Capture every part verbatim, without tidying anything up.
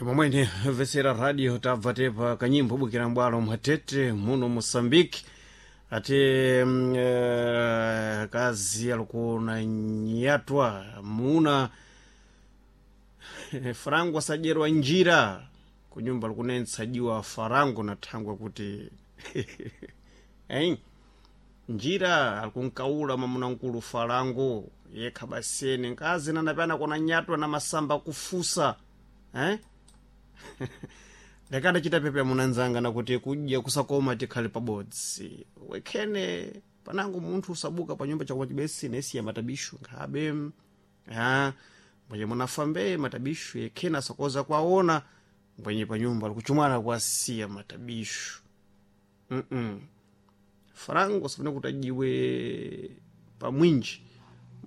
Momwene vesera radio tabva tepa kanyimbo bukira mbwalo mwatete muno Moçambique ate mm, eh, kazi alikuna nyatwa muna farango asadyerwa njira kunyumba likunensajiwa farango na thangwe kuti hein njira alikunkaula mamunankulu farango yekha basene nkazi nanapyana kona nyatwa na masamba kufusa eh? ndakadachita pepe munanzanga nakuti kudya kusakoma tikhale pabodzi wekhene panango munthu usabuka pa nyumba chakoma chibesine isiya matabishu nkhabe ha mbwenye munafambe matabishu yekhene asakoza kwaona mbwenye pa nyumba likuchumwana kwasiya matabishu mm -mm. Farango safuna kuti ajiwe pamwinji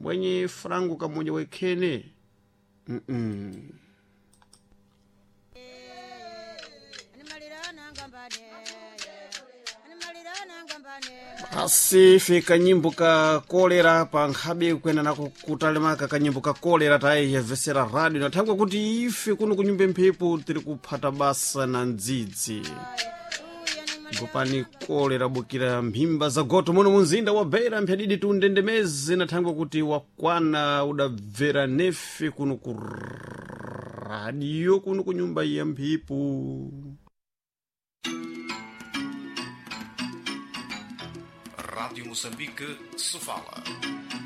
mbwenye farango kamoja wekhene mm -mm. Asi fika nyimbo ka kolera pa nkhabe kwena nako kutalemaka kanyimbo ka kolera tayiyevesera radio nathangwa kuti ife kuno kunyumba mphepo tiri kuphata basa na ndzidzi ngopani kolera bukira mphimba za goto muno munzinda wa beira mphadidi tundendemeze nathangwa kuti wakwana udabvera nefe kuno ku radio kuno kunyumba ya mphepo. Rádio Moçambique, Sofala.